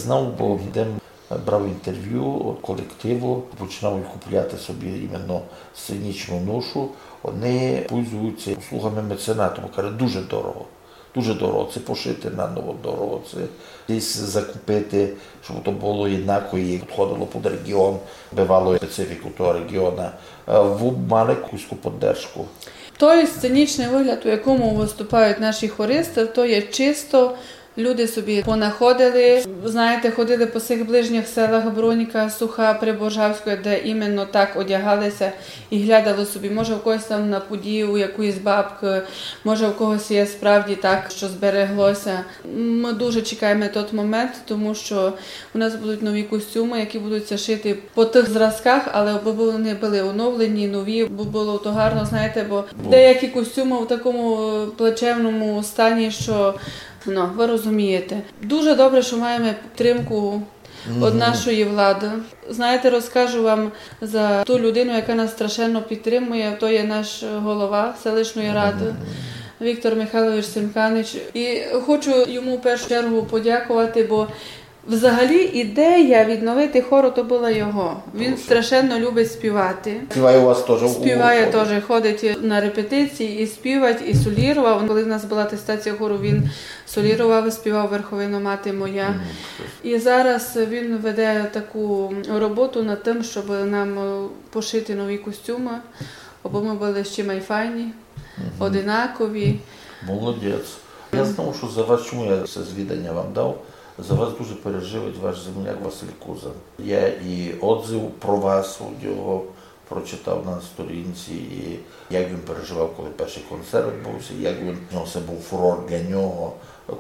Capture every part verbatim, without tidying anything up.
Знав, бо де м брав інтервю од колективу, починав купляти собі іменно сценічну ношу, они пользуються услугами меценату, бо каже, дуже дорого. Дуже дорого. Це пошити наново дорого, це десь закупити, щоб то було єднако і підходило під регіон, бывало специфіку того регіона. Е, вы мали якусь поддержку? Той сценічний вигляд, у якому виступають наші хористи, то є чисто люди собі понаходили. Знаєте, ходили по сих ближніх селах Бронька, Суха, Приборжавське, де іменно так одягалися і глядали собі. Може, в когось там на пуді, у якоїсь бабки, може, в когось є справді так, що збереглося. Ми дуже чекаємо тот момент, тому що у нас будуть нові костюми, які будуть ся шити по тих зразках, але аби вони були оновлені, нові, бо було то гарно, знаєте, бо деякі костюми в такому плачевному стані, що, ну, ви розумієте. Дуже добре, що маємо підтримку від нашої влади. Знаєте, розкажу вам за ту людину, яка нас страшенно підтримує, то є наш голова селищної ради Віктор Михайлович Симканич. І хочу йому в першу чергу подякувати, бо взагалі ідея відновити хор то була його. Він страшенно любить співати. Співає у вас теж? Співає теж, ходить на репетиції і співать, і солірував. Коли в нас була атестація хору, він солірував, співав Верховино, мати моя. І зараз він веде таку роботу над тим, щоб нам, е, пошити нові костюми, аби ми були ще май файні, одинакові. Молодець. Я знав, що за вас, чому я це звідання вам дав, за вас дуже переживає ваш земляк Василь Кузан. Я і отзыв про вас у нього прочитав на сторінці, і як він переживав, коли перший концерт відбувся, як він, ну, це був фурор для нього,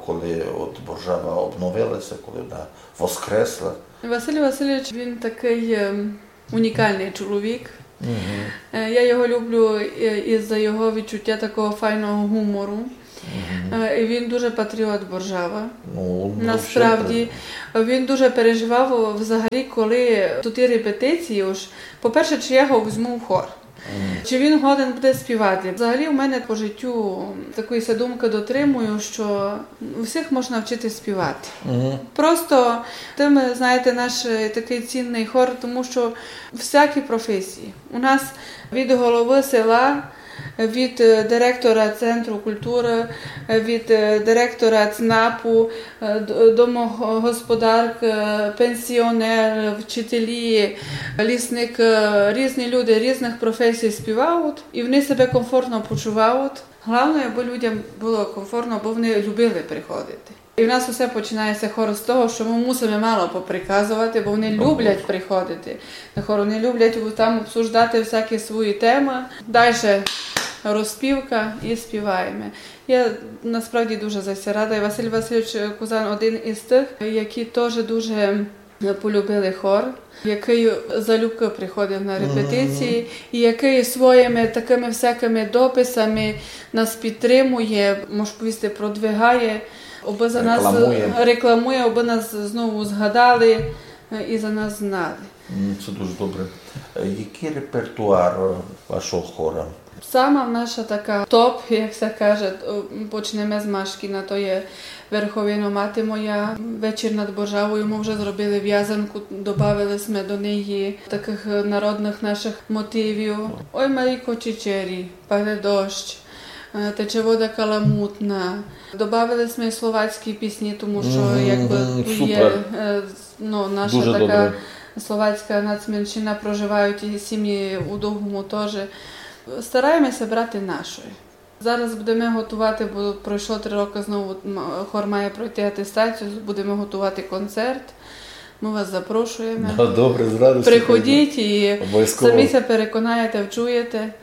коли от Боржава обновилася, коли вона воскресла. Василь Васильович, він такий, ем, унікальний чоловік. Е, я його люблю, е, із-за його відчуття такого файного гумору. Е, і він дуже патріот Боржава. Ну, насправді, він дуже переживав взагалі, коли туті репетиції, уж, по-перше, чи я його возьму в хор. Чи він годен буде співати? Взагалі, у мене по життю такої ся думки дотримую, що всіх можна вчити співати. Просто тим, знаєте, наш, е, такий цінний хор, тому що всякі професії. У нас від голови села, від, е, директора центру культури, е, від, е, директора ЦНАПу, е, д-, домогосподарка, е, пенсіонер, вчителі, лісник, е, різні люди різних професій співають, і вони себе комфортно почувають. Головне, аби людям було комфортно, аби вони любили приходити. І в нас усе починається, хор, з того, що ми мусимо мало поприказувати, бо вони люблять приходити на хор, вони люблять там обсуждати всякі свої теми. Дальше розпівка і співаємо. Я насправді дуже за це рада. І Василь Васильович Кузан один із тих, які теж дуже полюбили хор, який залюбки приходив на репетиції, і який своїми такими всякими дописами нас підтримує, можу повісти, продвигає, аби за нас рекламує, аби нас знову згадали, е, і за нас знали. М, це дуже добре. Е, який репертуар, е, вашого хора? Сама наша така топ, як ся каже, о, почнеме з Машкіна, то є Верховино, мати моя, Вечір над Боржавою, ми вже зробили вязанку, добавили сьме до неї таких, е, народних наших мотивів. Ой, Марійко, чичері, паде дощ, е, Тече вода каламутна. Добавили сьме й словацькі пісні, тому що, якби, ту є, е, ну, наша така словацька нацменшина, проживають і сім'ї у Довгому теж. Стараєме ся брати нашої. Зараз будеме готувати, бо пройшло три роки, знову, м, хор має пройти атестацію, будеме готувати концерт. Ми вас запрошуєме. Ну, добре, з радістю. Приходіть і самі ся переконаєте, вчуєте.